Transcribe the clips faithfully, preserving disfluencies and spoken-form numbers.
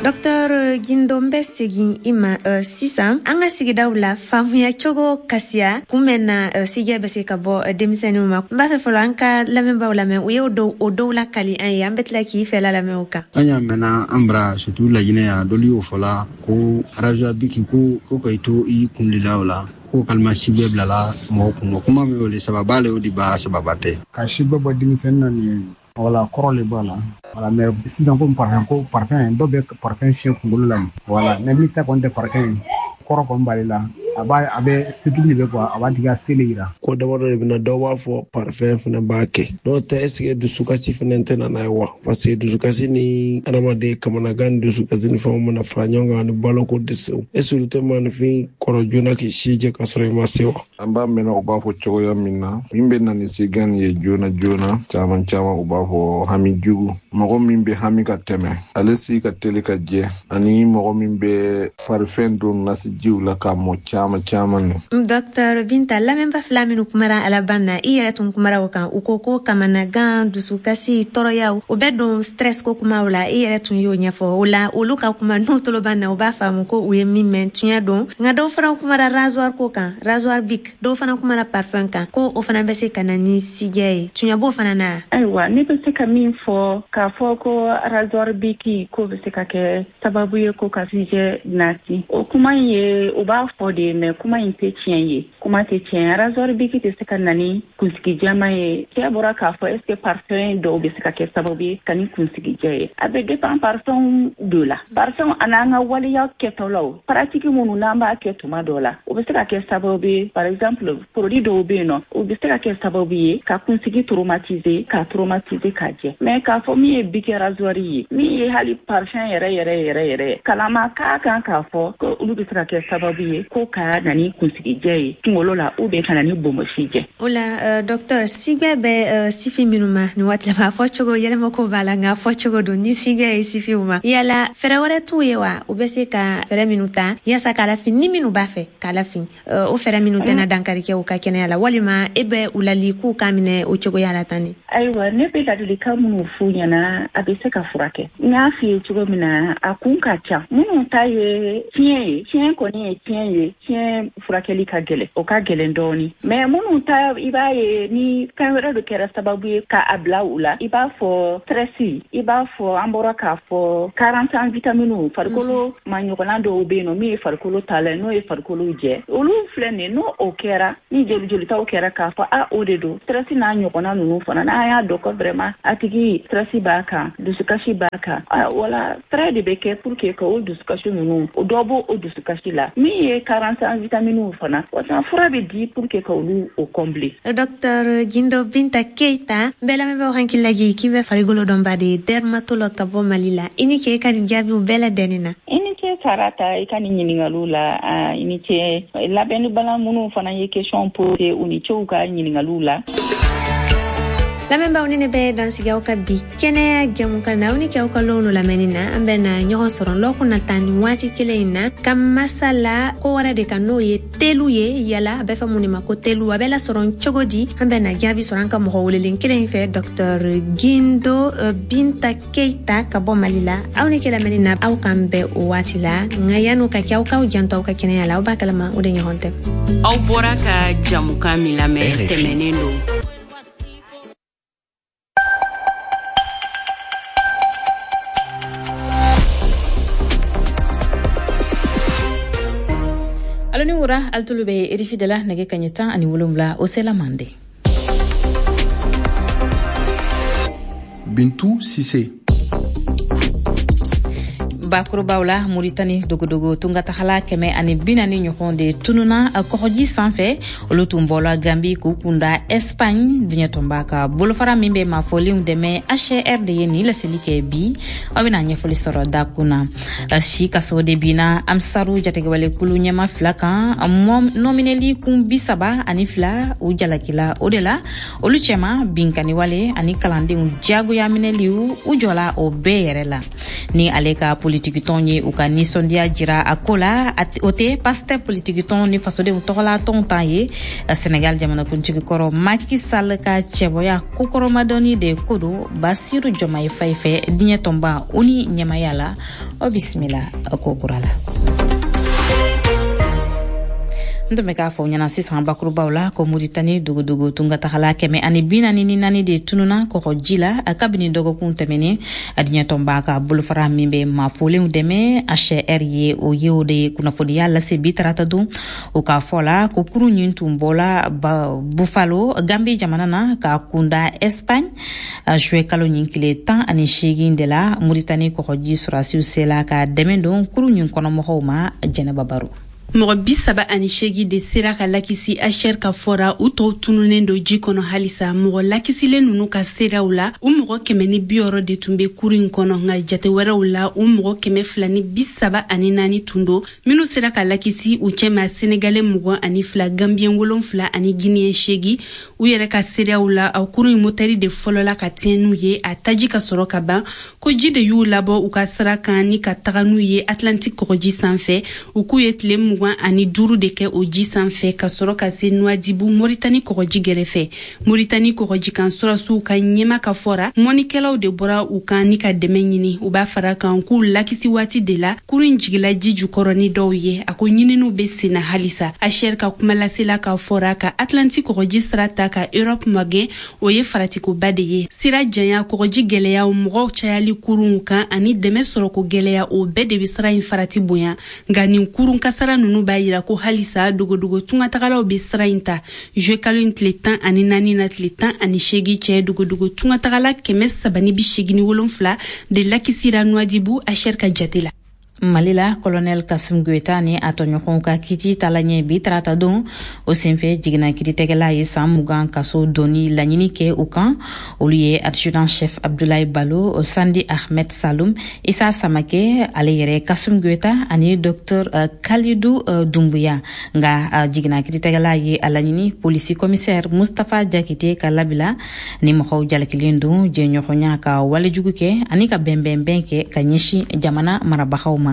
Docteur Guindo, n bɛ segin i ma uh, sisan. An ka sigidaw la, faamuya cogo kasiya kun bɛ na uh, sijɛ bɛ se ka bɔ uh, denmisɛnninw ma. N b'a fɛ fɔlɔ an ka lamɛnbaaw lamɛn, u ye o dɔw o dɔw lakali an ye, an bɛ tila k'i fɛla lamɛn o kan. An y'a mɛnna an bara, surtout Laginɛ yan, dɔlu y'o fɔla ko rasoir Bic ko ko ka i to i kun de la o la ko kalima si bɛɛ bilala mɔgɔ kun. Kuma min o le sababa le, o de b'a sababa tɛ. Ka si bɛɛ bɔ denmisɛnnin na nin ye, wala kɔrɔ le b'a la, wala. Mais sisan ko parfum, ko parfum, dɔw bɛ parfum fiyɛ kunkolo la, wala. Mais min ta kɔni tɛ parfum ye, kɔrɔ kɔni b'ale la, a b'a a bɛ setigi de bɛ quoi, a b'a tigi ka se de yira. Ko damadɔ de bɛna, dɔw b'a fɔ parfum fana b'a kɛ, n'o tɛ, est ce que dusukasi fana tɛ na n'a ye wa? Parce que dusukasi ni adamaden kamanagan ni dusukasi ni fɛnw mana fara ɲɔgɔn kan ani baloko dɛsɛw, est ce que olu tɛ maanifin kɔrɔ joona k'i si jɛ ka sɔrɔ i ma se wa? An b'a mɛnna u b'a fɔ cogoya min na, min bɛ na ni sigan ye joona joona, caman caman u b'a fɔ hami jugu. Mɔgɔ min bɛ hami ka tɛmɛ, ale si ka teli ka jɛ, ani mɔgɔ min bɛ parfum don nasijiw la k'a mɔ caman caman ni. Docteur Binta, lamɛnba fila minnu kumara a laban na, i yɛrɛ tun kumara o kan, u ko ko kamanagan, dusukasi, tɔɔrɔyaw, o bɛ don stress ko kumaw la. I yɛrɛ tun y'o ɲɛfɔ o la. Olu ka kuma n'u tolo b'an na, u b'a faamu ko u ye min mɛn tiɲɛ don. Nka dɔw fana kumara rasoir ko kan, rasoir Bic, dɔw fana kumara parfum kan, ko o fana bɛ se ka na ni sijɛ ye. Tiɲɛ b'o fana na? Ayiwa, ne bɛ se ka min fɔ k'a fɔ ko rasoir Bic ko bɛ se ka kɛ sababu ye ko ka sijɛ nati, o kuma in ye u b'a fɔ de, mais kuma in tɛ tiɲɛ ye, kuma tɛ tiɲɛ. Rasoir Bic tɛ se ka na ni kunsigi jɛman ye. Cɛ bɔra k'a fɔ, est ce que parfum dɔw bɛ se ka kɛ sababu ye ka ni kunsigi jɛ ye? A bɛ dépend parfum dɔ la, parfum an'an ka waleya kɛtɔlaw, pratique minnu n'an b'a kɛ tuma dɔ la, o bɛ se ka kɛ sababu ye. Par exemple, produit dɔw bɛ yen nɔ, o bɛ se ka kɛ sababu ye ka kunsigi traumatiser, ka traumatiser ka jɛ. Mais k'a fɔ min ye Bic rasoir ye, min ye hali parfum yɛrɛ yɛrɛ yɛrɛ yɛrɛ, kalama k'a kan k'a fɔ ko olu bɛ se ka kɛ sababu ye ko ka na ni kunsigijɛ ye kunkolo la, ou bien ka na ni bonbonsi jɛ. O la uh, docteur, sigɛ bɛ uh, sifin minnu ma nin waati la, a fɔ cogo yɛlɛmako b'a la, nka a fɔ cogo don ni sigɛ ye sifinw ma, yala fɛɛrɛ wɛrɛ t'u ye wa? U bɛ se ka fɛɛrɛ minnu ta yaasa k'a lafin, ni minnu b'a fɛ k'a lafin, uh, o fɛɛrɛ minnu tɛna dankari kɛ u ka kɛnɛya la, walima e bɛ u lali k'u k'a minɛ o cogoya la tan? Ni Ayiwa, ne bɛ ladilikan minnu f'u ɲɛna, a bɛ se ka furakɛ. N y'a f'i ye cogo min na, a kun ka ca. Minnu ta ye tiɲɛ ye, tiɲɛ kɔni ye tiɲɛ ye, tiɲɛ furakɛli ka gɛlɛn, o ka gɛlɛn dɔɔni. Mais minnu ta, i b'a ye ni fɛn wɛrɛ de kɛra sababu ye ka a bila u la, i b'a fɔ stress, i b'a fɔ an bɔra k'a fɔ carence en vitamines, farikolo ma ɲɔgɔnna dɔw bɛ yen nɔ min ye farikolo ta la, n'o ye farikolo jɛ, olu filɛ nin ye. N'o o kɛra, ni joli jolitaw kɛra k'a fɔ a o de don, stress n'a ɲɔgɔnna ninnu fana, n'an y'a dɔn ko vraiment a tigi stress b'a kan, dusukasi b'a kan, wala fɛɛrɛ de bɛ kɛ pour que ka o dusukasi ninnu, o dɔ b'o o dusukasi la. Min ye carence en vitamines fana, o fura bɛ di pour que ka olu o combler. Docteur Guindo Binta Keita, n bɛɛ lamɛnbagaw hakili lajigin k'i bɛ farikolo dɔnba de ye, dermatologue ka bɔ Mali la. I ni ce i ka nin jaabiw bɛɛ ladɛnni na. I ni ce Sarata, i ka nin ɲininkaliw la. I ni ce labɛnnibala minnu fana ye question posé, u ni ce u ka ɲininkaliw la. Lamɛnbaaw, ni ne bɛ dansigi aw ka bi kɛnɛya jɛmukan na. Aw ni kɛ aw ka lɔn lamɛnni na. An bɛ na ɲɔgɔn sɔrɔ lɔkun na tan ni waati kelen in na ka masala ko wɛrɛ de kan, n'o ye telu ye. Yala a bɛ fɔ mun de ma ko telu? A bɛ lasɔrɔ cogo di? An bɛ na jaabi sɔrɔ an ka mɔgɔ welelen kelen in fɛ, docteur Guindo Binta Keita ka bɔ Mali la. Aw ni kɛ lamɛnni na, aw k'an bɛn o waati la. Nka yan'o ka kɛ, aw k'aw janto aw ka kɛnɛya la, aw b'a kalama o de ɲɔgɔn tɛ. Aw bɔra ka jamukan min lamɛn tɛmɛnen don. Alo ni wura, alitolu be R F I de la, nɛgɛ kaɲɛ tan ani wolonwula o sela mande. Bintu Sise. Bakurubaw la, Muritani dogodogo tungatagala kɛmɛ ani bi naani ɲɔgɔn de tununa kɔgɔji sanfɛ. Olu tun bɔla Gambi k'u kunda Espagne. Diɲɛ tɔnba ka bolofara min bɛ maafɔlenw dɛmɛ, H R de ye nin laseli kɛ bi. Aw bɛna ɲɛfɔli sɔrɔ dakun na. Si kaso de binna Amsaru jatigɛwalekulu ɲɛma fila kan, nɔminɛli kun bi saba ani fila u jalakila o de la. Olu cɛma binkanniwale ani kalandenw diyagoya minɛliw, u jɔla o bɛɛ yɛrɛ la. Ni ale ka politikitɔn ye u ka nisɔndiya jira a ko la, o tɛ Pastef politikitɔn ni fasodenw tɔgɔla tɔn tan ye. Senegal jamanakuntigi kɔrɔ Macky Sall ka cɛbɔya kokɔrɔmadɔni de ko don Basiru Diomaye Faye fɛ diɲɛ tɔnba. tɔnba O N U ɲɛmaya la. O bisimila ko kura la. N tun bɛ k'a fɔ ɲɛna sisan bakurubaw la ko Muritani dogodogo tungatagala kɛmɛ ani bi naani ni naani de tununa kɔgɔji la kabini dɔgɔkun tɛmɛnen. Diɲɛtɔnba ka bolofara min bɛ maafolenw dɛmɛ, H C R ye, o ye o de kunnafoniya lase bi tarata don. O k'a fɔ la ko kurun ɲin tun bɔla Buffalo, Gambi jamana na, ka kunda Espagne juillet kalo ɲin tile tan ani seegin de la. Muritani kɔgɔji sɔrɔdasiw sela ka dɛmɛ don kurun ɲin kɔnɔmɔgɔw ma. Jɛnɛba Baro. Mɔgɔ bi saba ani seegi de sera ka lakisi H C R ka fɔra. U tɔw tununnen don ji kɔnɔ halisa. Mɔgɔ lakisilen nunu ka seerew la, u mɔgɔ kɛmɛ ni bi wɔɔrɔ de tun be kuru in kɔnɔ, nka jate wɛrɛw la, u mɔgɔ kɛmɛ fila ni bi saba ani naani tun don. Minnu sera ka lakisi, u cɛma Senegalɛ mugan ani fila, Gambiyɛn wolonfila ani Guiniyɛn seegi. U yɛrɛ ka seerew la, a kuru in motɛri de fɔlɔla ka tiɲɛ n'u ye, a taji ka sɔrɔ ka ban. Ko ji de y'u labɔ u ka sira kan ni ka taga n'u ye Atlantik kɔgɔji sanfɛ. U k'u ye tile mugan ani duuru de kɛ o ji sanfɛ ka sɔrɔ ka se Nuwadibu, Moritani kɔgɔji gɛrɛfɛ. Moritani kɔgɔji kan sɔrɔdasiw ka ɲɛma ka fɔra, mɔnikɛlaw de bɔra u kan ni ka dɛmɛ ɲini. U b'a fara kan k'u lakisi waati de la, kuru in jigila ji jukɔrɔ ni dɔw ye. A ko ɲininiw be senna halisa. H C R ka kumalasela ka fɔra, ka Atlantik kɔgɔji sira ta ka Europe magɛn, o ye faratikoba de ye. Sira janya, kɔgɔji gwɛlɛyaw, mɔgɔw cayali kurunw kan ani dɛmɛ sɔrɔko gwɛlɛya, o bɛɛ de be sira in farati bonya. Nka nin kurun kasara nunu b'a yira ko halisa dogodogo tungatagalaw be sira in ta. Juillet kalo in tile tan ani naani na tile tan ani seegi cɛ, dogodogo tungatagala kɛmɛ saba ni bi seegin ni wolonfila de lakisira Nuwadibu, H C R ka jate la. Mali la, Colonel Kasum Goita ni a tɔɲɔgɔnw ka kiti tala ɲɛ bi tarata don. O senfɛ, jiginna kiiritigɛla ye san mugan kaso donni laɲini kɛ u kan. Olu ye adjudant chef Abdoulaye Balo, Sandi Ahmed Salum, Isa Samake, ale yɛrɛ Kasum Goita ani docteur Kalidou Dumbuya. Nga jiginna kiiritigɛla ye a laɲini polisi commissaire Mustapha Jakite ka labila. Ni mɔgɔw jalakilen don jɛɲɔgɔnya ka walejugu kɛ ani ka bɛnbɛnbɛn kɛ ka ɲɛsin jamana marabagaw ma.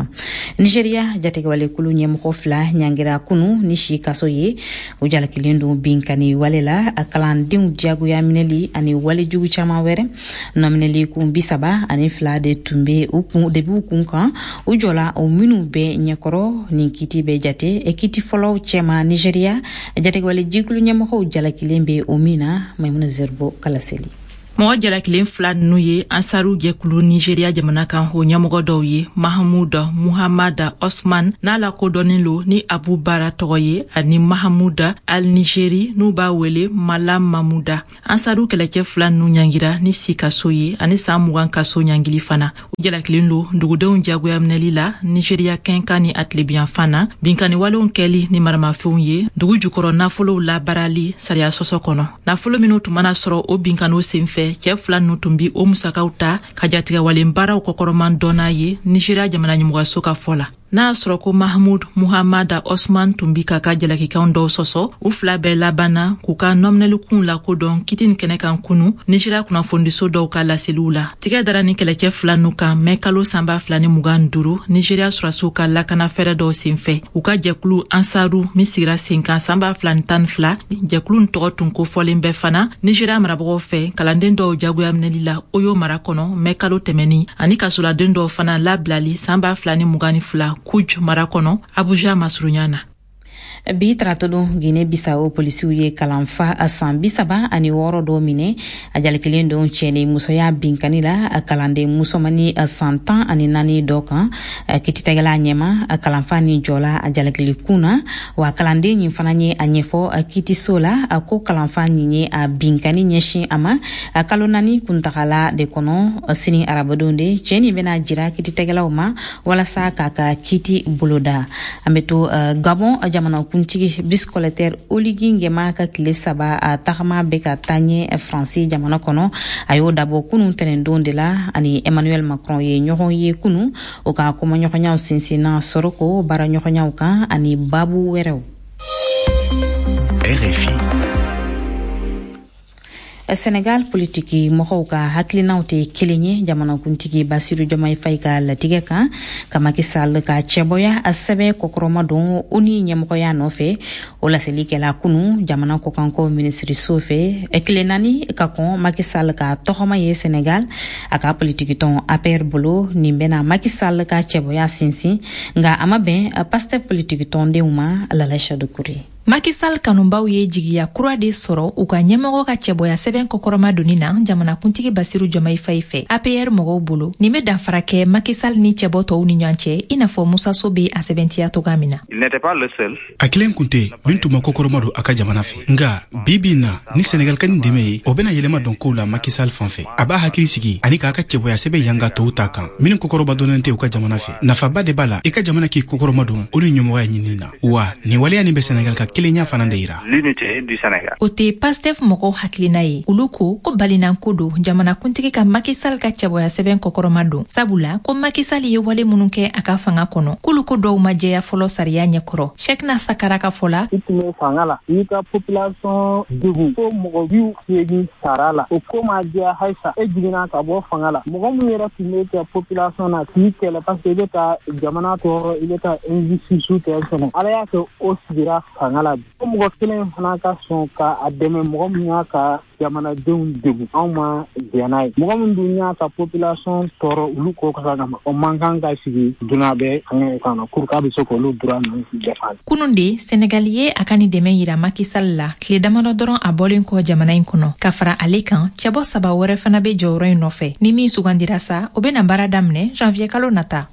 Nigeria jatigɛwalekulu ɲɛmɔgɔ fila ɲangira kunu ni si kaso ye. O jalakilen don binkani wale la, a kalandenw diyagoya minɛli ani walejugu caman wɛrɛ. Nɔminɛli kun bi saba ani fila de tun be u kun de b'u kun kan, u jɔla o minnu bɛ ɲɛkɔrɔ. Nin kiti bɛ jate kiti fɔlɔw cɛma Nigeria jatigɛwale jikulu ɲɛmɔgɔw jalakilen bɛ o min na. Maimuna Zerbo kalaseli. Mɔgɔ jalakilen fila nunu ye Ansaru jɛkulu Nigeriya jamana kan, o ɲɛmɔgɔ dɔw ye Mahamuda Muhamada Osman, n'a lakodɔnnen lo ni Abu Bara tɔgɔ ye, ani Mahamuda Al Nigeri, n'u b'a wele Malam Mamuda. Ansaru kɛlɛcɛ fila nunu ɲangira ni si kaso ye ani saan mugan kaso ɲangili fana. U jalakilen lo dugudenw jagoya minɛli la Nigeriya kɛnkan ni a tilebiyanfan na, binkani walenw kɛli ni maramafɛnw ye, dugu jukɔrɔ nafolow labaarali sariya sɔsɔ kɔnɔ. Nafolo minw tun mana sɔrɔ o binkaniw sen fɛ, cɛɛ fila nunu tun bi o musakaw ta ka jatigɛwalen baaraw kɔkɔrɔman dɔnna ye, Nigeriya jamana ɲɛmɔgɔso ka fɔ la. N'a y'a sɔrɔ ko Mahamud Muhamada Osman tun bi ka ka jalakikanw dɔw sɔsɔ, u fila bɛɛ labanna k'u ka nɔminɛlikun lakodɔn kiti nin kɛnɛ kan kunu, Nigeriya kunnafonidiso dɔw ka laseliw la. Tigɛ dara ni kɛlɛcɛ fila nu kan mɛ kalo sanba fila ni mugan duru, Nigeriya sɔrɔdasiw ka lakana fɛɛrɛ dɔw senfɛ. U ka jɛkulu Ansaru min sigira sen kan sanba fila ni tan ni fila, jɛkulu nin tɔgɔ tun kofɔlen bɛɛ fana Nigeriya marabagaw fɛ kalanden dɔw jagoya minɛli la Oyo mara kɔnɔ mɛ kalo tɛmɛni, ani kasoladen dɔw fana labilali sanba fila ni mugan ni fila Kuj mara kɔnɔ, Abuja masurunya na. Bi taratɔdon, Guinée Bissau polisiw ye kalanfa san bi saba ani wɔɔrɔ dɔ minɛ. A jalakilen don cɛni musoya binkani la a kalanden musomani san tan ani naani dɔ kan. Kititɛgɛla ɲɛma, kalanfa ni jɔla a jalakili kun na wa. Kalanden nin fana ye a ɲɛfɔ kitiso la ko kalanfa nin ye a binkani ɲɛsin a ma kalo naani kuntagala de kɔnɔ. Sini arabadon de cɛɛ nin bɛna jira kititɛgɛlaw ma walasa k'a ka kiti boloda. An be to Gabon. Jamana kuntigi Brice Clotaire Oligui Nguema ka tile saba a tagama bɛ ka taa ɲɛ Faransi jamana kɔnɔ. A y'o dabɔ kunun tɛnɛndon de la. Ani Emmanuel Macron ye ɲɔgɔn ye kunu. O ka kumaɲɔgɔnyaw sinsinna sɔrɔko baaraɲɔgɔnyaw kan ani babu wɛrɛw. R F I. Senegal politiki mɔgɔw ka hakilinaw tɛ kelen ye jamanakuntigi Basiru Diomaye Faye ka latigɛ kan ka Macky Sall ka cɛbɔya a sɛbɛn kɔkɔrɔma don o ni ɲɛmɔgɔya nɔfɛ. O laseli kɛla kunu jamana kɔkanko minisiriso fɛ, tile naani ka kɔn Macky Sall ka tɔgɔma ye Senegal a ka politikitɔn A P R bolo. Nin bɛna Macky Sall ka cɛbɔya sinsin, nka a ma bɛn Pastef politikitɔndenw ma. Lalaïcha Doucouré. Macky Sall kanubaw ye jigiya kura de sɔrɔ u ka ɲɛmɔgɔ ka cɛbɔya sɛbɛn kɔkɔrɔma donni na jamanakuntigi Basiru Diomaye Faye fɛ. A P R mɔgɔw bolo, nin bɛ danfara kɛ Macky Sall ni cɛbɔ tɔw ni ɲɔgɔn cɛ, i n'a fɔ Musa So bɛ a sɛbɛntiya cogoya min na. A kelen kun tɛ min tun ma kɔkɔrɔma don a ka jamana fɛ, nka bi bi in na ni Senegal ka nin dɛmɛ ye, o bɛna yɛlɛma dɔn kow la Macky Sall fan fɛ. A b'a hakili sigi ani k'a ka cɛbɔya sɛbɛn yanga tɔw ta kan minnu kɔkɔrɔba dɔnnen tɛ u ka jamana fɛ. Nafaba de b'a la i ka jamana k'i kɔkɔrɔma don o ni ɲɛmɔgɔya ɲinini na, wa nin waleya nin bɛ Senegal ka kelenya fana de yira. O tɛ Pastef mɔgɔw hakilina ye. Olu ko ko balinanko don jamanakuntigi ka Macky Sall ka cɛbɔya sɛbɛn kɔkɔrɔma don, sabula ko Macky Sall ye wale minnu kɛ a ka fanga kɔnɔ, k'olu ko dɔw ma jɛya fɔlɔ sariya ɲɛkɔrɔ. Cheikhna Sakara ka fɔ la, i tun bɛ fanga la, i y'i ka population degun ko mɔgɔ bi seegin sara la, o ko ma jɛya halisa, e jiginna ka bɔ fanga la. Mɔgɔ min yɛrɛ tun bɛ kɛ population na k'i kɛlɛ parce que i bɛ ka jamana tɔɔrɔ, i bɛ ka injustice kɛ fɛnɛ, Ala y'a kɛ o sigira fanga la. O mɔgɔ kelen fana ka sɔn ka a dɛmɛ mɔgɔ min y'a ka jamanadenw degun, anw ma jɛn n'a ye. Mɔgɔ min dun y'a ka population tɔɔrɔ olu ko kasa kama, o man kan ka sigi dunan bɛɛ fanga kan na pour k'a bɛ se k'olu droit ninnu défendre. Kunun de Senegal ye a ka nin dɛmɛ yira Macky Sall la tile damadɔ dɔrɔn a bɔlen kɔ jamana in kɔnɔ. Ka fara ale kan, cɛbɔ saba wɛrɛ fana bɛ jɔyɔrɔ in nɔfɛ. Ni min sugandira sa, o bɛna baara daminɛ janvier kalo nata.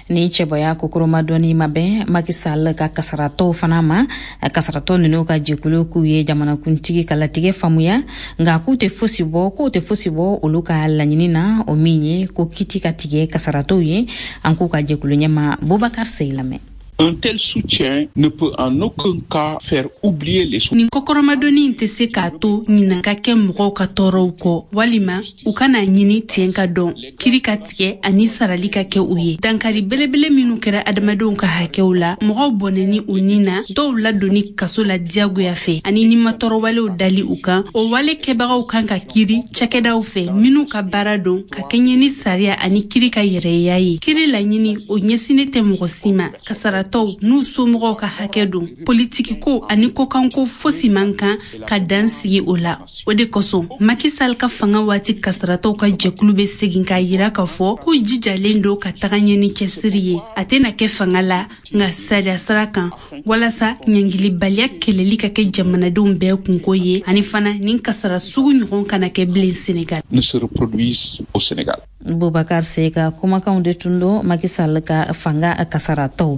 Ni cɛbɔya kokoroma dɔɔni ma bɛn Macky Sall ka kasaratɔw fana ma. Kasaratɔ ninnu ka jɛkulu k'u ye jamanakuntigi ka latigɛ faamuya, nka k'u tɛ fosi bɔ k'u tɛ fosi bɔ olu ka laɲini na, o min ye ko kiti ka tigɛ kasaratɔw ye. An k'u ka jɛkulu ɲɛma Boubacar Seye lamɛn. Un tel soutien ne peut en aucun cas faire oublier les Nin kɔkɔrɔmadonni in tɛ se k'a to ɲinan ka kɛ mɔgɔw ka tɔɔrɔw kɔ, walima u kana ɲini tiɲɛ ka dɔn, kiri ka tigɛ ani sarali ka kɛ u ye. Dankari belebele minnu kɛra adamadenw ka hakɛw la, mɔgɔw bɔnɛni u ni na, dɔw ladonni kaso la diyagoya fɛ, ani nimatɔɔrɔwalew dali u kan, o wale kɛbagaw kan ka kiri cakɛdaw fɛ minnu ka baara don ka kɛɲɛ ni sariya ani kiri ka yɛrɛya ye. Kiri laɲini o ɲɛsinnen tɛ mɔgɔ si ma, kasara tɔw n'u somɔgɔw ka hakɛ don. Politikiko ani kɔkanko fosi man kan ka dan sigi o la. O de kosɔn Macky Sall ka fanga waati kasaratɔw ka jɛkulu bɛ segin k'a yira k'a fɔ k'u jijalen don ka taga ɲɛ ni cɛsiri ye. A tɛna kɛ fanga la, nka sariya sira kan, walasa ɲangilibaliya kɛlɛli ka kɛ jamanadenw bɛɛ kunko ye, ani fana nin kasara sugu ɲɔgɔn kana kɛ bilen Sénégal. Ne se reproduise au Sénégal. Boubacar Seye ka kumakanw de tun don Macky Sall ka fanga kasaratɔw.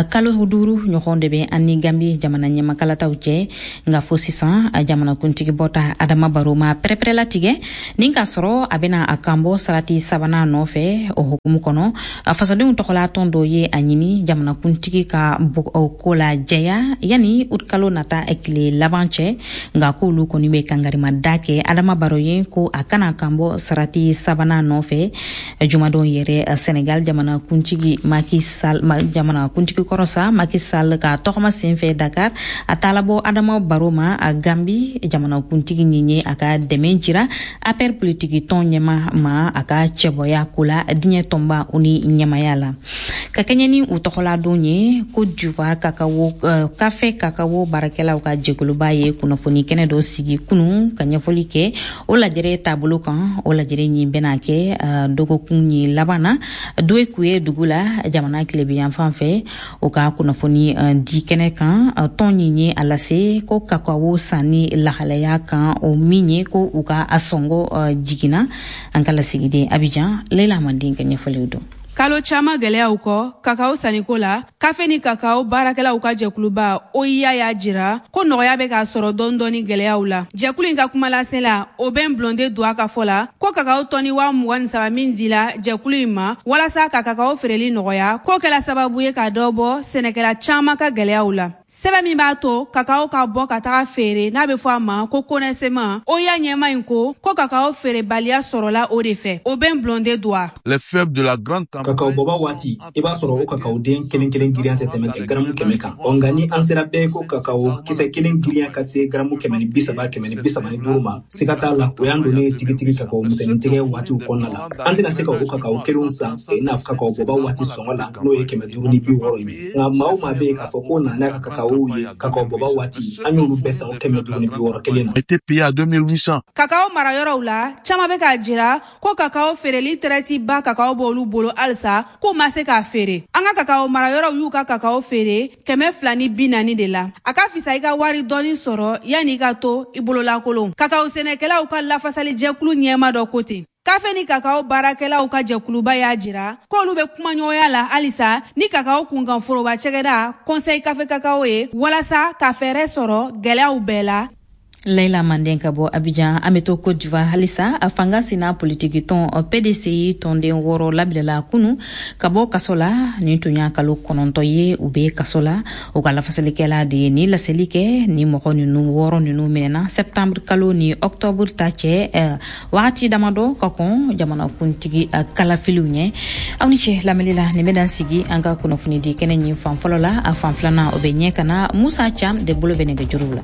Kalo duuru ɲɔgɔn de bɛ an ni Gambi jamana ɲɛmakalataw cɛ, nka fo sisan jamanakuntigi bɔta Adama Barrow ma pɛrɛpɛrɛlatigɛ nin k'a sɔrɔ a bɛna a kanbɔ sarati sabanan nɔfɛ. O hukumu kɔnɔ, fasodenw tɔgɔla tɔn dɔ ye a ɲini jamanakuntigi ka ko la jɛya yanni utikalo nata tile laban cɛ, nka k'olu kɔni bɛ kangarimada kɛ Adama Barrow ye ko a kana kanbɔ sarati sabanan nɔfɛ. Jumadon yɛrɛ, Senegal jamanakuntigi Macky Sall, jamanakuntigi kɔrɔ sa Macky Sall ka tɔgɔma senfɛ Dakar, a taala bɔ Adama Barrow ma a Gambi jamanakuntigi nin ye a ka dɛmɛ jira A P R politiki tɔn ɲɛma ma a ka cɛbɔya ko la diɲɛ tɔnba o ni ɲɛmaya la. Ka kɛɲɛ ni u tɔgɔladon ye, Côte d'Ivoire kakawo kafe kakawo baarakɛlaw ka jɛkuluba ye kunnafoni kɛnɛ dɔ sigi kunun ka ɲɛfɔli kɛ o lajɛrɛ taabolo kan. O lajɛrɛ nin bɛna kɛ dɔgɔkun ni laban na Duékoué dugu la jamana tilebiyanfan fɛ. O ka kunnafoni di kɛnɛ kan, tɔn nin ye a lase ko kakawo sanni lahalaya kan, o min ye ko u ka a sɔngɔ jiginna. An ka lasigiden Abidjan Leila Manden ka ɲɛfɔliw don. Kalo caman gɛlɛyaw kɔ kakao sanniko la, kafe ni kakao baarakɛlaw ka jɛkuluba O I A y'a jira ko nɔgɔya bɛ k'a sɔrɔ dɔɔni dɔɔni gɛlɛyaw la. Jɛkulu in ka kumalase la, o bɛn Blonde Doua ka fɔ la ko kakao tɔni waa mugan ni saba min dila jɛkulu in ma walasa ka kakao feereli nɔgɔya, k'o kɛla sababu ye ka dɔ bɔ sɛnɛkɛla caman ka gɛlɛyaw la. Sɛbɛn min b'a to kakao ka bɔ ka taga feere n'a bɛ fɔ a ma ko connaissement, O I A ɲɛma in ko ko kakao feerebaliya sɔrɔla o de fɛ. O bɛ Blondin Doa. Les faibles de la grande campagne. Kakao bɔba waati, i b'a sɔrɔ o kakao den kelen kelen girinya tɛ tɛmɛ garamu kɛmɛ kan. Ɔ nka ni an sera bɛɛ ko kakao kisɛ kelen girinya ka se garamu kɛmɛ ni bi saba kɛmɛ ni bi saba ni duuru ma, siga t'a la o y'an donnen tigitigi kakao misɛnnin tigɛ waatiw kɔnɔna la. An tɛna se ka o kakao kelenw san i n'a fɔ kakao bɔba waati sɔngɔ la n'o ye kɛmɛ duuru ni bi wɔɔrɔ ye. Nka maa o maa bɛ yen k'a fɔ k'o nana n'a ka kakao ye kakao bɔba waati, an y'olu bɛɛ san o kɛmɛ duuru ni bi wɔɔrɔ kelen na. Était payé à deux mille huit cents. Kakao marayɔrɔw la, caman bɛ k'a jira ko kakao feereli tɛrɛti ba kakao b'olu bolo halisa k'u ma se k'a feere. An ka kakao marayɔrɔw y'u ka kakao feere kɛmɛ fila ni bi naani de la. A ka fisa i ka wari dɔɔni sɔrɔ yanni i ka to i bololakolon. Kakao sɛnɛkɛlaw ka lafasalijɛkulu ɲɛma dɔ ko ten. Kafe ni kakao baarakɛlaw ka jɛkuluba y'a jira k'olu bɛ kumaɲɔgɔnya la halisa ni kakao kunkan foroba cɛgɛda Conseil Café Cacao ye walasa ka fɛɛrɛ sɔrɔ gɛlɛyaw bɛɛ la. Layla Manden ka bɔ Abidjan. An bɛ to Côte d'Ivoire halisa. A fanga sina politiki tɔn P D C I tɔnden wɔɔrɔ labilala kunu ka bɔ kaso la. Nin tun y'a kalo kɔnɔntɔn ye u bɛ kaso la. U ka lafasalikɛla de ye ni laseli kɛ. Ni mɔgɔ ninnu wɔɔrɔ ninnu minɛna septembre kalo ni octobre ta cɛ, wagati damadɔ ka kɔn jamanakuntigi kalafiliw ɲɛ. Aw ni ce lamɛnli la. Nin bɛ dan sigi an ka kunnafoni di kɛnɛ ɲin fan fɔlɔ la. A fan filanan o bɛ ɲɛ ka na Musa Cam de bolo bɛ nɛgɛjuruw la.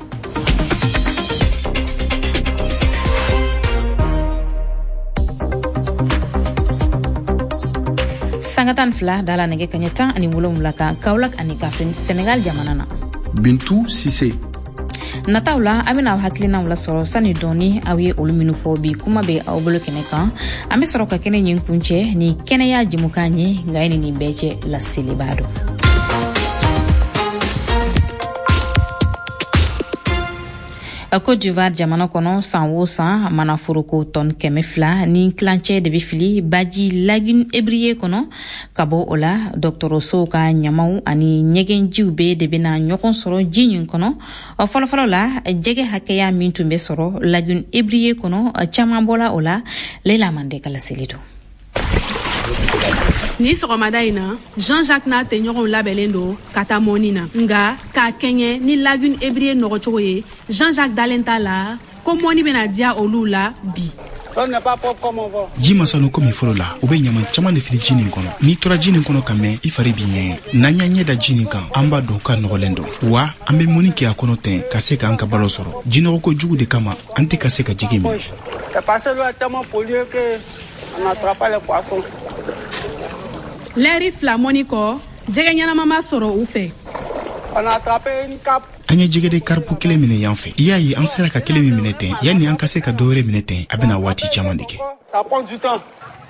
Sanga tan fila dala nɛgɛ kaɲɛ tan ani wolonwula kan Kaolack ani Kaffrine Senegal jamana na. Bintu Sise. Nataw la an bɛna aw hakilinaw lasɔrɔ sani dɔɔni aw ye olu minnu fɔ bi kuma bɛ aw bolo kɛnɛ kan. An bɛ sɔrɔ ka kɛnɛ ɲin kuncɛ ni kɛnɛya jɛmukan ye, nka ye nin bɛɛ cɛ laseliba don. Côte d'Ivoire jamana kɔnɔ, san o san manaforoko tɔn kɛmɛ fila ni tilancɛ de bɛ fili baji lagune Ébrié kɔnɔ. Ka bɔ o la, dɔgɔtɔrɔsow ka ɲamaw ani ɲɛgɛnjiw bɛɛ de bɛna ɲɔgɔn sɔrɔ ji nin kɔnɔ. Fɔlɔfɔlɔ la, jɛgɛ hakɛya min tun bɛ sɔrɔ lagune Ébrié kɔnɔ, caman bɔla o la. Leila Mande ka laseli don. Ni sɔgɔmada in na, Jean-Jacques n'a tɛɲɔgɔnw labɛnnen don ka taa mɔni na. Nka k'a kɛɲɛ ni lagune Ébrié nɔgɔcogo ye, Jean-Jacques dalen t'a la ko mɔni bɛna diya olu la bi. Ji ma sanu komi fɔlɔ la, u bɛ ɲaman caman de fili ji nin kɔnɔ. N'i tora ji nin kɔnɔ ka mɛn, i fari b'i ɲɛgɛn. N'an y'an ɲɛ da ji nin kan, an b'a dɔn k'a nɔgɔlen don. Wa an bɛ mɔni kɛ a kɔnɔ ten ka se k'an ka balo sɔrɔ. Jinɔgɔko jugu de kama, an tɛ ka se ka jigin minɛ. Lɛri fila mɔni kɔ, jɛgɛ ɲɛnama ma sɔrɔ u fɛ. An ye jɛgɛden karipu kelen minɛ yan fɛ. I y'a ye an sera ka kelen min minɛ ten, yanni an ka se ka dɔ wɛrɛ minɛ ten, a bɛna waati caman de kɛ.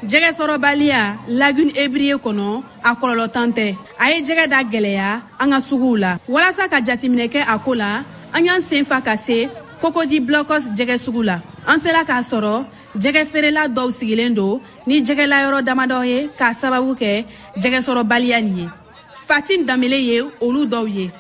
Jɛgɛ sɔrɔbaliya lagune Ébrié kɔnɔ, a kɔlɔlɔ tan tɛ. A ye jɛgɛ da gɛlɛya an ka suguw la. Walasa ka jateminɛ kɛ a ko la, an y'an sen fa ka se Cocody Blocos jɛgɛ sugu la. An sera k'a sɔrɔ jɛgɛ feerela dɔw sigilen don ni jɛgɛlayɔrɔ damadɔ ye k'a sababu kɛ jɛgɛ sɔrɔbaliya nin ye. Fatim Danbele ye olu dɔw ye.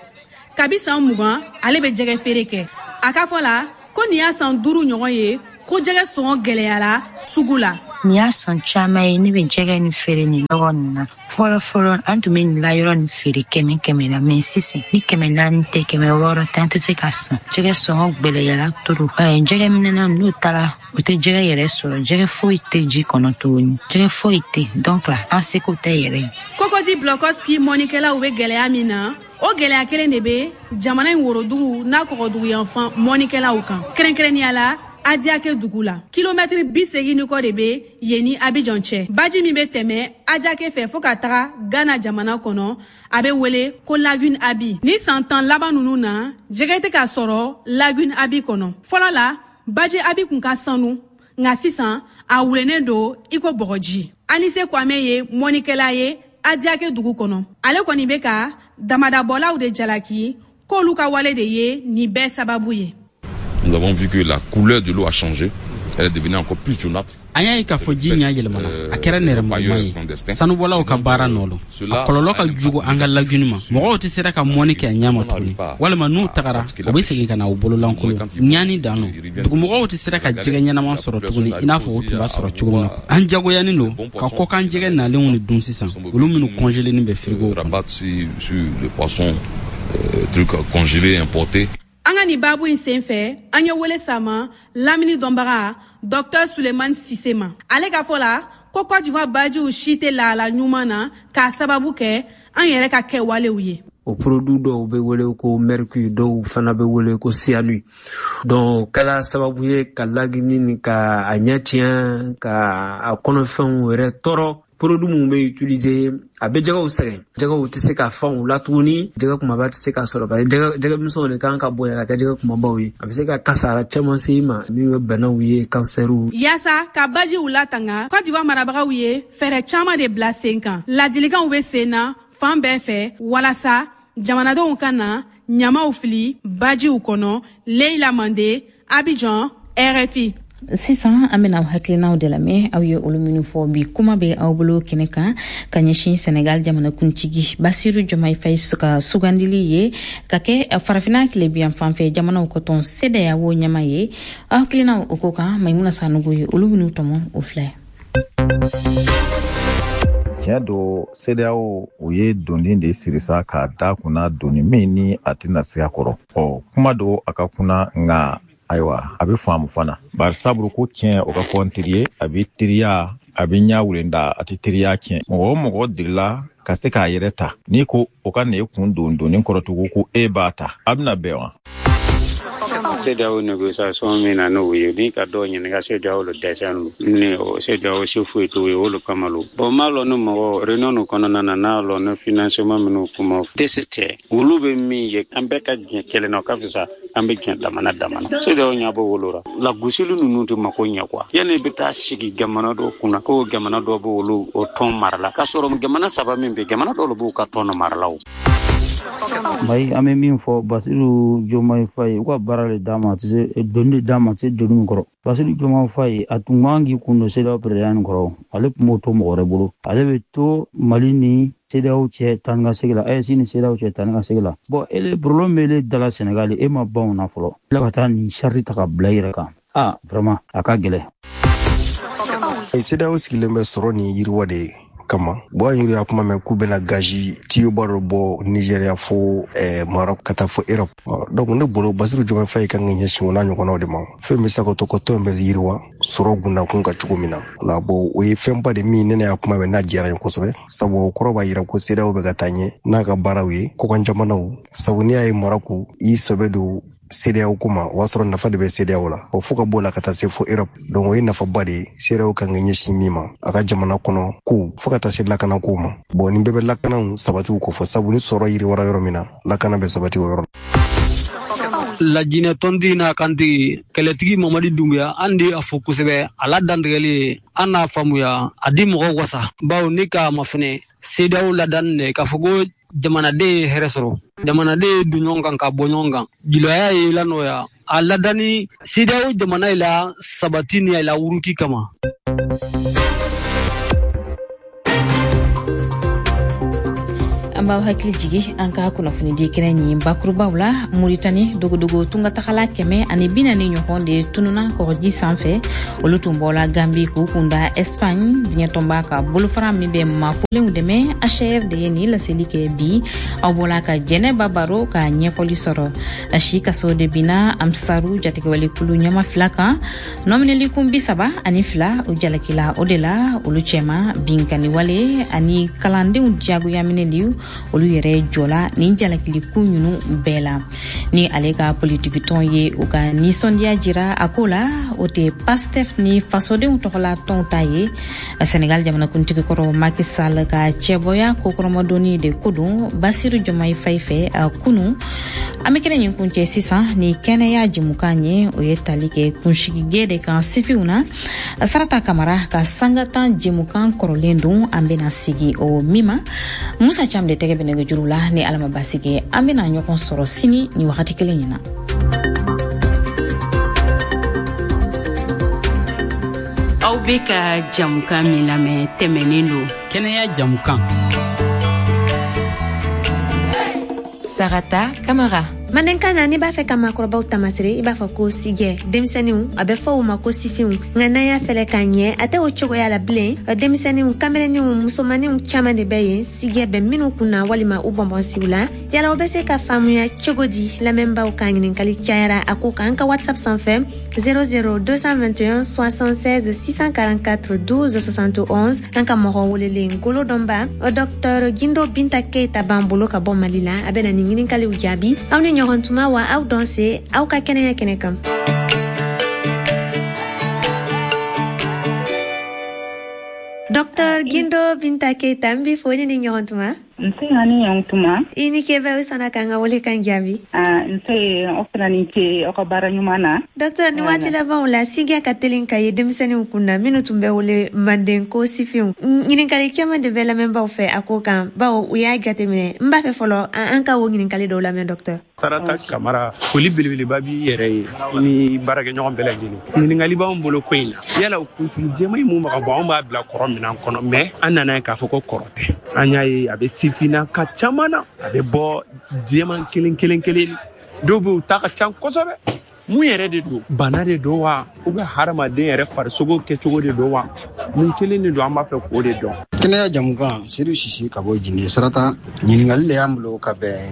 Kabi san mugan ale bɛ jɛgɛ feere kɛ. A ka fɔ la ko nin y'a san duuru ɲɔgɔn ye ko jɛgɛ sɔngɔ gɛlɛyara sugu la. Nin y'a san caman ye ne bɛ jɛgɛ nin feere nin yɔrɔ nin na. Fɔlɔ fɔlɔ an tun bɛ nin layɔrɔ nin feere kɛmɛ kɛmɛ la, mɛ sisan ni kɛmɛ naani tɛ kɛmɛ wɔɔrɔ tɛ, an tɛ se ka san. Jɛgɛ sɔngɔ gɛlɛyara trop. Jɛgɛ minɛna n'u taara u tɛ jɛgɛ yɛrɛ sɔrɔ. Jɛgɛ foyi tɛ ji kɔnɔ tuguni. Jɛgɛ foyi tɛ, donc la an seko tɛ yɛrɛ. Cocody Blocos mɔnikɛlaw bɛ gɛlɛya min na, o gɛlɛya kelen de bɛ jamana in worodugu n'a kɔgɔduguyanfan mɔnikɛlaw kan. Kɛrɛnkɛrɛnnenya la, Adiake dugu la, kilomɛtiri bi seegin ni kɔ de bɛ yen ni Abidjan cɛ. Baji min bɛ tɛmɛ Adiake fɛ fo ka taga Ghana jamana kɔnɔ, a bɛ wele ko lagune Abi. Ni san tan laban ninnu na, jɛgɛ tɛ ka sɔrɔ lagune Abi kɔnɔ. Fɔlɔ la, baji Abi kun ka sanu, nka sisan a wulennen don i ko bɔgɔji. Anise Kwame ye mɔnikɛla ye Adiake dugu kɔnɔ. Ale kɔni bɛ ka damadabɔlaw de jalaki k'olu ka wale de ye nin bɛɛ sababu ye. Nous avons vu que la couleur de l'eau a changé. Elle est devenue encore plus jaunâtre. An y'a ye k'a fɔ ji ɲɛ yɛlɛmana, a kɛra nɛrɛmuguma ye. Sanubɔlaw ka baara nɔ don. A kɔlɔlɔ ka jugu an ka lagune ma. Mɔgɔw tɛ sera ka mɔni kɛ a ɲɛ ma tuguni, walima n'u tagara u bɛ segin ka na u bololankolon. Ɲaani dan don. Dugumɔgɔw tɛ sera ka jɛgɛ ɲɛnama sɔrɔ tuguni i n'a fɔ u tun b'a sɔrɔ cogo min na. An jagoyanen don ka kɔkan jɛgɛ nalenw de dun sisan, olu minnu congelé bɛ frigo kɔnɔ. euh, trucs congelés, importés. An ka nin baabu in sen fɛ, an ye wele sama lamini dɔnbaga Docteur Suleiman Sise ma. Ale ka fɔ la ko Côte d'Ivoire bajiw si tɛ lahala ɲuman na k'a sababu kɛ an yɛrɛ ka kɛwalew ye. O produit dɔw bɛ wele ko mercure, dɔw fana bɛ wele ko cyanure. Donc kɛla sababu ye ka lagini ni ka a ɲɛ tiɲɛ, ka a kɔnɔfɛnw yɛrɛ tɔɔrɔ. Produit mun bɛ utiliser, a bɛ jɛgɛw sɛgɛn, jɛgɛw tɛ se ka fan u la tuguni, jɛgɛ kumaba tɛ se ka sɔrɔ parce que jɛgɛ jɛgɛmisɛnw de kan ka bonya ka kɛ jɛgɛ kumabaw ye. A bɛ se ka kasara caman se i ma min bɛ banaw ye, kansɛriw. Yaasa ka bajiw latanga, Côte d'Ivoire marabagaw ye fɛɛrɛ caman de bila sen kan. Ladilikanw bɛ sen na fan bɛɛ fɛ walasa jamanadenw ka na ɲamaw fili bajiw kɔnɔ. Leila Mande, Abidjan, R F I. Sisan an bena hakilinaw de lamɛn, aw ye olu minnu fɔ bi. Kuma bɛ aw bolo kɛnɛ kan ka ɲɛsin Senegal jamanakuntigi Basiru Jɔmayi Fayi ka sugandili ye ka kɛ Farafina tilebiyan fanfɛ jamanaw ka tɔn CEDEAO ɲɛma ye. Aw hakilinaw o ko kan, Maimuna Sanogo ye olu minnu tɔmɔ, o filɛ. Tiɲɛ don, CEDEAO u ye doni de siri sa k'a da kunna, doni min ni a tɛna se a kɔrɔ. Ɔ, kuma don a ka kunna, nka ayiwa, a bɛ faamu fana, bari sabu ko tiɲɛ o ka fɔ n teri ye, a bɛ teriya, a bɛ ɲɛ wulenda, a tɛ teriya tiɲɛ. Mɔgɔ o mɔgɔ delila ka se k'a yɛrɛ ta, n'i ko o ka na e kun don doni kɔrɔ tugun ko e b'a ta, a bɛna bɛn wa? CEDEAO négociation min na n'o ye ni ka dɔw ɲininka, CEDEAO le dɛsɛ ni CEDEAO se foyi t'o ye, o le kama lo. Bon, m'a lɔn ni mɔgɔ réunion nin kɔnɔna na, n'a lɔn ni financement minnu kuma dɛsɛ tɛ, olu bɛ min ye, an bɛɛ ka diɲɛ kelen na, o ka fisa an bɛ diɲɛ damana damana. CEDEAO ɲɛ b'o wolo la, lagosili ninnu tɛ mako ɲɛ quoi. Yanni i bɛ taa sigi jamana dɔw kunna ko jamana dɔw b'olu o tɔn mara la, k'a sɔrɔ jamana saba min bɛ, jamana dɔw b'u ka tɔn mara la o. Mayi, an bɛ min fɔ Basiru Jomayi Faye, u ka baara de d'a ma, a tɛ se doni de d'a ma, a tɛ se doni min kɔrɔ. Basiru Jomayi Faye, a tun man k'i kun don CEDEAO président nin kɔrɔ, ale tun b'o to mɔgɔ wɛrɛ bolo. Ale bɛ to Mali ni CEDEAO cɛ taa ni ka segin la, A E S ni CEDEAO cɛ taa ni ka segin la. Bon, ele problème bɛ ele da la Sénégal, e ma ban o na fɔlɔ, tila ka taa nin charge ta ka bila i yɛrɛ kan. Ah, vraiment, a ka gɛlɛn. CEDEAO sigilen bɛ sɔrɔ ni yiriwa de ye kama. Bɔn, an yɛrɛ y'a kuma mɛn k'u bɛna gazi tiyoba dɔ bɔ Nigéria fo eh, Maroc ka taa fo Europe. Donc ne bolo, Basiru Jomayi Faye kan ka ɲɛsin o n'a ɲɔgɔnnaw de ma, fɛn bɛ se ka to ka tɔn bɛ yiriwa sɔrɔ gundakun ka cogo min na la. Bon, o ye fɛnba de min ne ne y'a kuma mɛn n'a diyara n ye kosɛbɛ, sabu o kɔrɔ b'a yira ko CEDEAO bɛ ka taa ɲɛ n'a ka baaraw ye kɔkan jamanaw. Sabu n'i y'a ye Maroc i sɛbɛ don CEDEAO ko ma, o b'a sɔrɔ nafa de bɛ CEDEAO la, o fo ka b'o la ka taa se fo Europe. Donc o ye nafaba de ye CEDEAO kan ka ɲɛsin min ma, a ka jamana kɔnɔ kow fo ka taa se lakana kow ma. Bon, nin bɛɛ bɛ lakanaw sabatiw kofɔ, sabu ni sɔrɔ yiriwara yɔrɔ min na, lakana bɛ sabati o yɔrɔ. Lajinɛ tɔntigi n'a kantigi kɛlɛtigi Mamadi Dunbuya, an de a fo kosɛbɛ. A la dantigɛli, an n'a faamuya, a di mɔgɔw wasa, bawo ne k'a ma fɛnɛ CEDEAO ladani dɛ k'a fɔ ko jamanaden ye hɛrɛ sɔrɔ, jamanaden ye don ɲɔgɔn kan ka bɔ ɲɔgɔn kan, julaya ye la nɔgɔya, a ladani CEDEAO jamana ye la sabati ni a la wuruki kama. An b'aw hakili jigi an ka kunnafonidi kɛnɛ ɲi bakurubaw la. Muritani, dogodogo tungatagala kɛmɛ ani bi naani ɲɔgɔn de tununa kɔgɔji sanfɛ. Olu tun bɔla Gambi k'u kunda Espagne. Diɲɛtɔnba ka bolofara min bɛ mafolenw dɛmɛ, H R de ye nin laseli kɛ bi. Aw bɔla ka Jɛnɛba baro ka ɲɛfɔli sɔrɔ. Si kaso de binna Amsaru jatigɛwalekulu ɲɛma fila kan, nɔminɛlikun bi saba ani fila u jalakila o de la, olu cɛma binkanniwale ani kalandenw diyagoyaminɛli. Olu yɛrɛ jɔla nin jalakilikun ninnu bɛɛ la. Ni ale ka politikitɔn ye u ka nisɔndiya jira a ko la, o tɛ PASTEF ni fasodenw tɔgɔla tɔnw ta ye. Senegal jamanakuntigi kɔrɔ Macky Sall ka cɛbɔya kokɔrɔmadonni de ko don Basiru Jomayi Fayi fɛ kunu. An bɛ kɛnɛ nin kuncɛ sisan ni kɛnɛya jɛmukan ye, o ye tali kɛ kunsigige de kan sifinw na. Sarata Kamara ka sangatan jɛmukan kɔrɔlen don, an bɛna sigi o min ma. Musa Cam de tɛgɛ bɛ nɛgɛjuru la. Ni Ala ma baasi kɛ, an bɛna ɲɔgɔn sɔrɔ sini ni wagati kelen in na. Aw bɛ ka jamukan min lamɛn tɛmɛnen don. Kɛnɛya jamukan. Sarata Kamara. Mandenkan na, n'i b'a fɛ ka maakɔrɔbaw tamasere, i b'a fɔ ko sigɛ. Denmisɛnninw, a bɛ fɔ u ma ko sifinw. Nka n'an y'a fɛlɛ k'a ɲɛ, a tɛ o cogoya la bilen. Denmisɛnninw, kamelenninw, musomaninw caman de bɛ yen sigɛ bɛ minnu kun na walima u bɔnbɔnsiw la. Yala o bɛ se ka faamuya cogo di? Lamɛnbaaw ka ɲininkali cayara a ko kan an ka WhatsApp sanfɛ zéro zéro deux cent vingt et un soixante-seize six cent quarante-quatre douze soixante et onze. An ka mɔgɔ welelen golo dɔnba, Docteur Gindo Binta Keita b'an bolo ka bɔ Mali la. A bɛna nin ɲininkaliw jaabi. Aw ni ɲɔgɔn tuma wa, aw dɔn se aw ka kɛnɛya kɛnɛ kan. Docteur Gindo Binta Keita, n b'i fo ni ni ɲɔgɔn tuma. Nse, ani ɲɔgɔn tuma. I ni ke bɛ, sɔnna k'an ka wele kan jaabi. Nse, aw fana ni ce aw ka baara ɲuman na. Docteur, ni waati labanw la, sigiya ka telin ka ye denmisɛnninw kun na, minnu tun bɛ wele manden ko sifinw. Ɲininkali caman de bɛ lamɛnbaw fɛ a ko kan, bawo u y'a jateminɛ. N b'a fɛ fɔlɔ an ka o ɲininkali dɔw lamɛn, docteur. Sarata Kamara, foli belebeleba b'i yɛrɛ ye ni baarakɛɲɔgɔn bɛɛ lajɛlen. Ɲininkali b'anw bolo ko in na: yala kunsigi jɛman in mun bɛ ka bɔ, anw b'a bila kɔrɔ minɛn kɔnɔ, mɛ an nana ye k'a fɔ ko kɔrɔ tɛ. An y'a ye a bɛ sifinna ka caman na, a bɛ bɔ jɛman kelen kelen kelen, dɔw bɛ yen u ta ka ca kosɛbɛ. Mun yɛrɛ de don? Bana de don wa, ou bien hadamaden yɛrɛ farisogo kɛcogo de don wa? Mun kelen de don? An b'a fɛ k'o de dɔn. Kɛnɛya jamukan, Sedu Sisi ka bɔ Jine. Sarata, ɲininkali le y'an bolo ka bɛn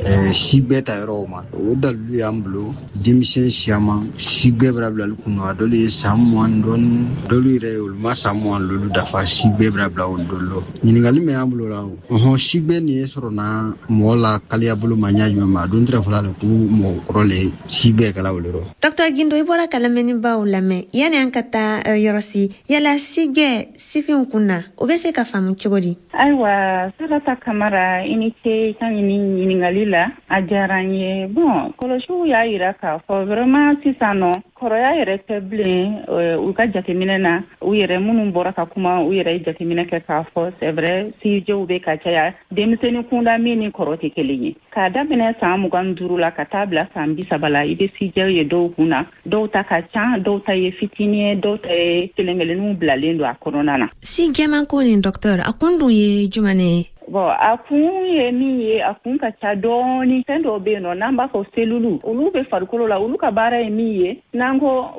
eh, si bɛɛ ta yɔrɔw ma. O dalilu y'an bolo, denmisɛn siyaman si bɛɛ bɛra bilali kun a dɔlu ye san mugan dɔɔni, dɔlu yɛrɛ olu ma san mugan lolu dafa, si bɛɛ bɛra bila olu dɔlu lɔ. Ɲininkali min y'an bolo la, ɔhɔn, si bɛɛ nin ye sɔrɔ na mɔgɔ la kaliya bolo ma ɲa jumɛn ma, a don tɛrɛ fɔla le ko mɔgɔ kɔrɔ le si bɛɛ kɛla o le rɔ. Docteur Gindo, i bɔra ka lamɛnnibaw lamɛn. Yani an ka taa yɔrɔ si, yala sigɛ sifinw kun na, o bɛ se ka faamu cogo di? Ayiwa, Sarata Kamara, i ni ce i ka ɲini ɲininkali la, a diyara n ye. Bon, kɔlɔsiw y'a yira k'a fɔ vraiment sisan nɔ, kɔrɔya yɛrɛ tɛ bilen. U ka jateminɛ na, u yɛrɛ minnu bɔra ka kuma, u yɛrɛ ye jateminɛ kɛ k'a fɔ c'est vrai, sijɛw bɛ ka caya denmisɛnnin kunda min ni kɔrɔ tɛ kelen ye. K'a daminɛ san mugan duuru la ka taa bila san bi saba la, i bɛ sijɛw ye dɔw kun na. Dɔw ta ka ca, dɔw ta ye fitinin ye, dɔw ta ye kelen kelenninw bilalen don a kɔnɔna na. Si jɛman ko nin, docteur, a kun dun ye jumɛn ye? Bon, a kun ye min ye, a kun ka ca dɔɔni. Fɛn dɔw bɛ yen nɔ n'an b'a fɔ selulu, olu bɛ farikolo la. Olu ka baara ye min ye, n'an ko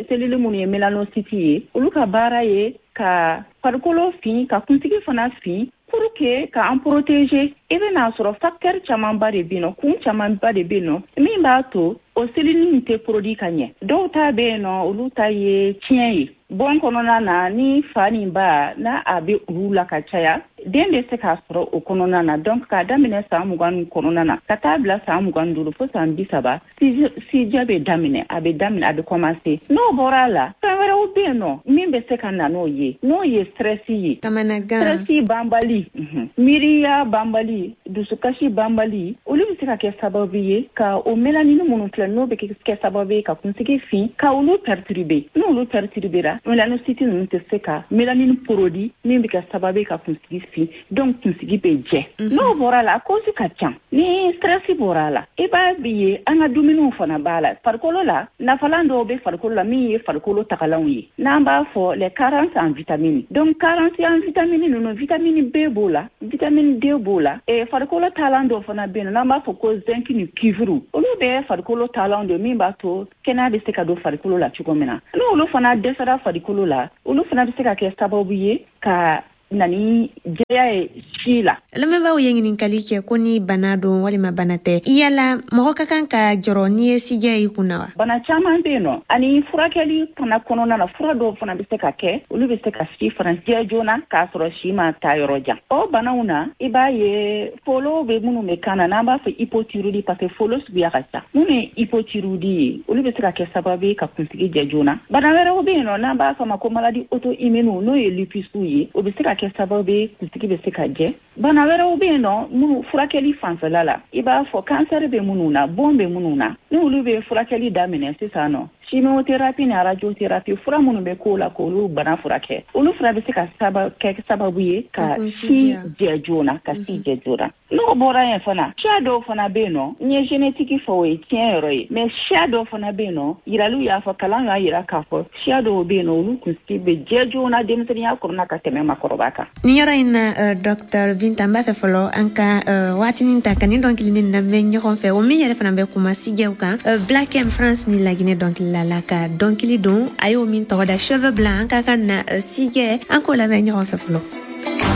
selulu minnu ye mélanocite ye, olu ka baara ye ka farikolo fin, ka kunsigi fana fin, pour que ka an protéger. I bɛna sɔrɔ facteur camanba de bɛ yen nɔ, kun camanba de bɛ yen nɔ min b'a to o cellule in tɛ produit ka ɲɛ. Dɔw ta bɛ yen nɔ, olu ta ye tiɲɛ ye bon kɔnɔna na. Ni fa ni ba n'a a bɛ olu la ka caya, den bɛ se k'a sɔrɔ o kɔnɔna na. Donc k'a daminɛ san mugan kɔnɔna na ka taa bila san mugan duuru fo san bi saba, sijɛ bɛ daminɛ, a bɛ daminɛ, a bɛ commencer. N'o bɔra a la, fɛn wɛrɛw bɛ yen nɔ min bɛ se ka na n'o ye, n'o ye stress ye. Kamanagan. Stress banbali, miiriya banbali, dusukasi banbali, olu bɛ se ka kɛ sababu ye ka o mélanine minnu filɛ, n'o bɛ kɛ sababu ye ka kunsigi fin, ka olu perturber. N'olu perturbera, mélanocyte ninnu tɛ se ka mélanine produit min bɛ kɛ sababu ye ka kunsigi fin, donc kunsigi bɛ jɛ. N'o bɔra la, a cause ka ca. Ni stress bɔra a la, i b'a ye an ka dumuniw fana b'a la. Farikolo la, nafalan dɔw bɛ farikolo la min ye farikolo tagalanw ye, n'an b'a fɔ les carences en vitamines. Donc carence en vitamines ninnu, vitamine B b'o la, vitamine D b'o la. E farikolo taalan dɔw fana bɛ yen n'an b'a fɔ ko zinc ni cuivre, olu bɛɛ farikolo taalan don min b'a to kɛnɛya bɛ se ka don farikolo la cogo min na. N'olu fana dɛsɛra farikolo la, olu fana bɛ se ka kɛ sababu ye ka na ni jɛya ye si la. Lamɛnbaaw ye ɲininkali kɛ ko ni bana don walima bana tɛ. Yala mɔgɔ ka kan ka jɔrɔ n'i ye sijɛ i kun na wa? Bana caman bɛ yen nɔ, ani furakɛli fana kɔnɔna na, fura dɔw fana bɛ se ka kɛ, olu bɛ se ka si fana jɛ joona k'a sɔrɔ si ma taa yɔrɔ jan. O banaw na, i b'a ye folo bɛ minnu bɛ kan na, n'an b'a fɔ hypothyroïdie, parce que folo suguya ka ca, minnu ye hypothyroïdie ye, olu bɛ se ka kɛ sababu ye ka kunsigi jɛ joona. Bana wɛrɛw bɛ yen nɔ n'an b'a fɔ a ma ko maladie auto-immune, n'o ye lupus ye, o bɛ se ka kɛ sababu ye kunsigi bɛ se ka jɛ. Bana wɛrɛw bɛ yen nɔ minnu furakɛli fanfɛla la, i b'a fɔ kansɛri bɛ minnu na, bon bɛ minnu na, ni olu bɛ furakɛli daminɛ sisan nɔ, Chimiothérapie ni radiothérapie, fura minnu bɛ k'o la k'olu bana furakɛ, olu fura bɛ se ka saba kɛ sababu ye ka si jɛ joona, ka si jɛ joona. N'o bɔra yen fana, siya dɔw fana bɛ yen nɔ, n ye génétique fɔ, o ye tiɲɛ yɔrɔ ye, mais siya dɔw fana bɛ yen nɔ, yiraliw y'a fɔ, kalan y'a yira k'a fɔ siya dɔw bɛ yen nɔ, olu kunsigi bɛ jɛ joona denmisɛnninya kɔnɔna ka tɛmɛ makɔrɔba kan. Nin yɔrɔ in na, docteur Binta, n b'a fɛ fɔlɔ an ka waatinin ta ka nin dɔnkilinin lamɛn ɲɔgɔn fɛ, o min yɛrɛ fana bɛ kuma sijɛw kan. Black M France ni Laginɛ dɔnkilila la ka dɔnkili don, a y'o min tɔgɔ da Cheveux Blancs. An ka kan na sijɛ, an k'o lamɛn ɲɔgɔn fɛ fɔlɔ.